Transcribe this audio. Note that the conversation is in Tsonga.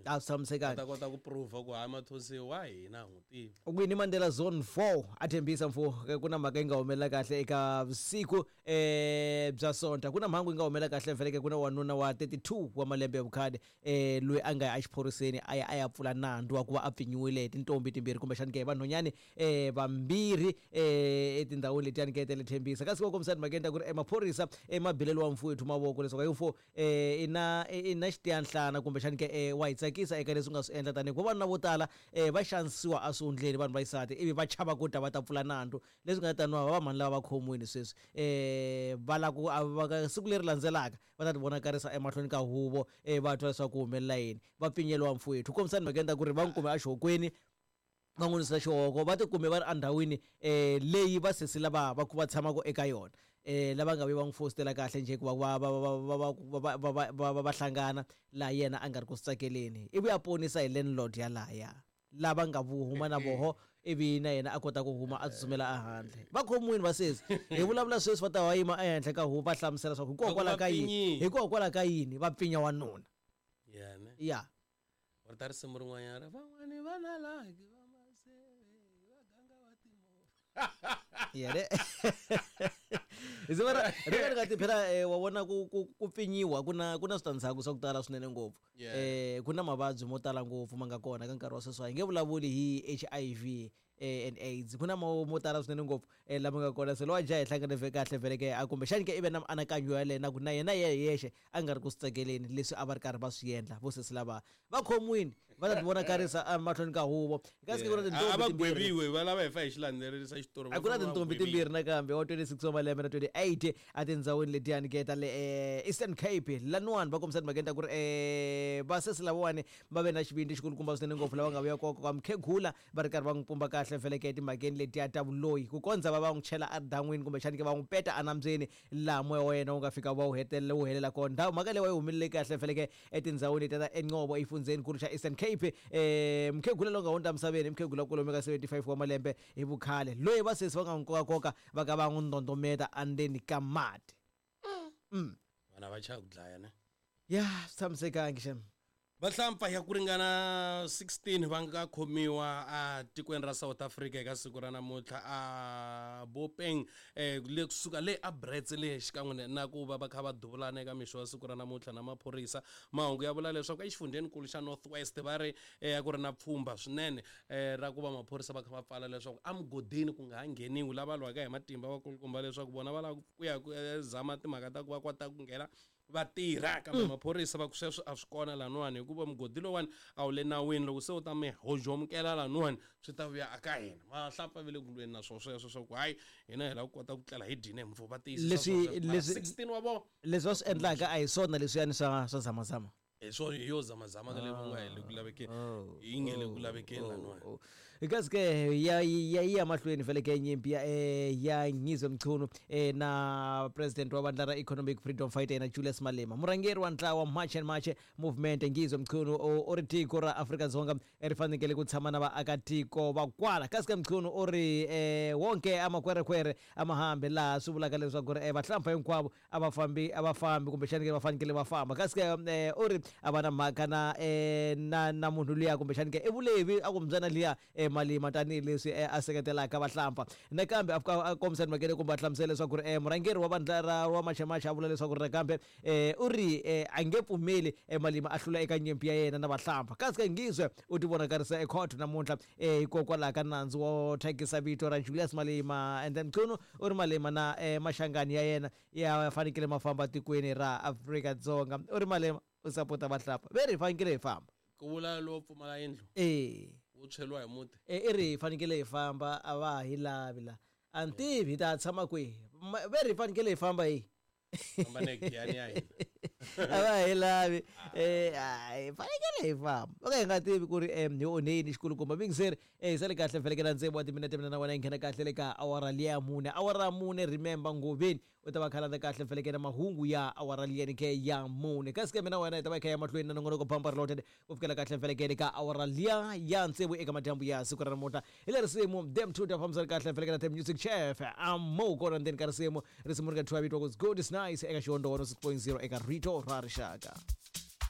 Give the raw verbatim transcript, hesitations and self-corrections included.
A swi tshamisekanga. Ta kota ku prove ku hayi Mathonsi wa hina n'wi tivi. Winnie Mandela Zone four a Tembisa mfo ku na mhaka yi nga humelela kahle eka vusiku eh bya Sonta. Ku na mhangu yi nga humelela kahle vhele ku na wanuna wa thirty-two wa malembe ya vukhale eh loyi a nga ya exiphoriseni a ya a ya pfula nandzu wa ku va a pfinyiwile hi tintombi timbirhi kumbexani ke vanhwanyani eh vambirhi eh etindhawini letiyani ke ta le Tembisa. Kasi ku kombisa timhakeni ta ku ri emaphorisa emabilelo wa mfowethu mavoko leswaku hi mfo eh ina ina xitiyanhlana kumbexani ke eh wa hi tsakisa eka leswi nga swi endla tanihi ku vavanuna vo tala eh va xanisiwa eswihundleni vanhu va xisati ivi va chava ku ta va ta pfula nandzu leswi nga taniwa va mhani lava va khomiwile sweswi eh va la ku siku leri landzelaka va ta ti vonakarisa emahlweni ka huvo eh va twa leswaku ku humelela yini va pfinyeliwa mfowethu. Kombisa timhakeni ta ku ri va n'wi kume exihokweni va n'wi nisa xihoko va tikume va ri endhawini eh leyi va sesi lava va va tshamaka eka yona eh lava nga vi va n'wi fositela kahle njhe hikuva va va va va va va va va hlangana laha yena a nga ri ku swi tsakeleni ivi a ponisa hi landlord ya lahaya lava nga vuhuma na voho ivi na yena a kota ku huma a tsutsumela ehandle. Va khomiwile va sesi hi vulavula sweswi va ta va yima ehenhla ka huvo va hlamusela leswaku hikokwalaho ka yini hikokwalaho ka yini va pfinya wanuna. Ya ne ya va ta risimu rin'wanyana van'wani va na laki va maseve va ganga va timovha. Yene Izivara ri nga ti phela wa vona ku ku pfinyiwa ku na ku na switandzhaku swa ku tala swinene ngopfu eh ku na mavabyi mo tala ngopfu ma nga kona ka nkarhi wa sweswi hi nge vulavuli hi H I V and AIDS ku na mo mo tala swinene ngopfu lama nga kona se lowa jaha hi hlangane ve kahle vhele ke a kumbexani ke i ve na mianakanyo ya yena ku na yena yexe a nga ri ku swi tsakeleni leswi a va ri karhi va swi endla vo sesi lava va khomiwile va ta ti vonakarisa emahlweni ka huvo. Kasi ku na tintombi a va gweviwe va lava hi fa hi xilandzelerisa xitori a ku na tintombi timbirhi nakambe wa twenty-six wa malembe na twenty-eight a tindhawini letiyani ke ta le Eastern Cape laniwani va kombisa timhakeni ta ku ri eh va sesi lavawani va ve na xivindzi xikulukumba swinene ngopfu lava nga vuya koko ka mukhegula va ri karhi va n'wi pumba kahle vhele ke timhakeni letiya ta vuloyi ku kondza va va n'wi chela edan'wini kumbexani ke va n'wi peta enambyeni laha moya wa yena wu nga fika va wu hetelela wu helela kona. Ndhawu mhaka leyi wa yi humelele kahle vhele ke etindhawini letiya ta eNqobo efundzeni xa Eastern Cape eh mukhegula lowu nga hundza emisaveni mukhegula kwalomu ka seventy-five wa malembe hi vukhale loyi va sesi va nga n'wi kokakoka va ka va n'wi ndondometa endzeni ka mati. Mm. Vana va chava ku dlaya ne ya swi tshamisekangi xem. Vahlampfa ya ku ringana sixteen va nga khomiwa a tikweni ra South Africa eka siku ra namuntlha a Bopeng eh le kusuka le a Brits le xikan'we na ku va va kha va duvulana eka mixo wa siku ra namuntlha na maphorisa. Mahungu ya vula leswaku exifundzhenikulu xa North West va ri eh ku ri na pfhumba swinene eh ra ku va maphorisa va kha va pfala leswaku emugodini ku nga ha ngheniwi lava lwaka hi matimba va kulukumba leswaku vona va lava ku ya ku zama timhaka ta ku va kota ku nghena va tirha kambe maphorisa va ku sweswo a swi kona laniwani hikuva mugodi lowani a wu le nawini loko se u ta mi hojomukela laniwani swi ta vuya aka hina vahlampfa va le ku lweni na swona sweswo swa ku hayi hina hi lava ku kota ku tlela hi dyine mfo va tiyisisa leswi leswi sixteen wa vona leswi va swi endlaka a hi swona leswiyani swa swa zamazama hi swona hi yo zamazama ka leyi va nga hi le ku lavekeni yi nge le ku lavekeni laniwani. Kasi ke ya ya ya mahlweni vhele ke nyimpi ya ya Ngizwe Mchunu na president wa vandla ra Economic Freedom Fighter na Julius Malema murhangeri wa ntlawa March and March movement Ngizwe Mchunu u ri tiko ra Afrika-Dzonga ri fanekele ku tshama na vaakatiko va kwala. Kasi ke Mchunu u ri wonke amakwerekwere a ma hambi laha swi vulaka leswaku ri vahlampfa hinkwavo a va fambi a va fambi kumbexani ke va fanekele va famba. Kasi ke u ri a va na mhaka na na na munhu luya kumbexani ke i vulevi a ku mbyana liya Malima tanihileswi a seketelaka vahlampfa. Nakambe a kombisa timhakeni kumbe a hlamusela leswaku ri murhangeri wa vandla ra wa March and March a vula leswaku ri nakambe u ri a nge pfumeli Malima a hlula eka nyimpi ya yena na vahlampfa. Kasi ke Ngizwe u ti vonakarisa ekhoto namuntlha hikokwalaho ka nandzu wo thyakisa vito ra Julius Malema. And then Mchunu u ri Malema na maxangani ya yena ya fanekele ma famba tikweni ra Afrika-Dzonga. U ri Malema u sapota vahlampfa ve ri hi fanekele hi famba ku vula lowo pfumala yindlu eh wo tshweliwa hi muti eh i ri hi fanekele hi famba a va hi lavi la a ni tivi hi ta tshama kwihi ve ri hi fanekele hi famba hi famba ne giyani ya hina a va hi lavi eh hi fanekele hi famba o ka hi nga tivi ku ri hi onhe yini xikulukumba mingiseri eh sale kahle vhelekela ntsevu wa timinete mina na wena hi nghena kahle le ka awara liya mune awara mune remember Ngoveni u ta va khalanda kahle vhelekela mahungu ya awara liyani ke ya mune kasi ke mina wena hi ta va hi kha ya mahlweni na nongonoko Bampa Reloaded ku fikela kahle vhelekele ka awara liya ya ntsevu eka madyambu ya siku ra namuntlha hi le risimu dem two ta fambisana kahle vhelekela the music chef amo kona ndzeni ka risimu risimu ri nga thyiwa vito ku good is nice eka xihondzo one six point zero eka Rito ra Rixaka.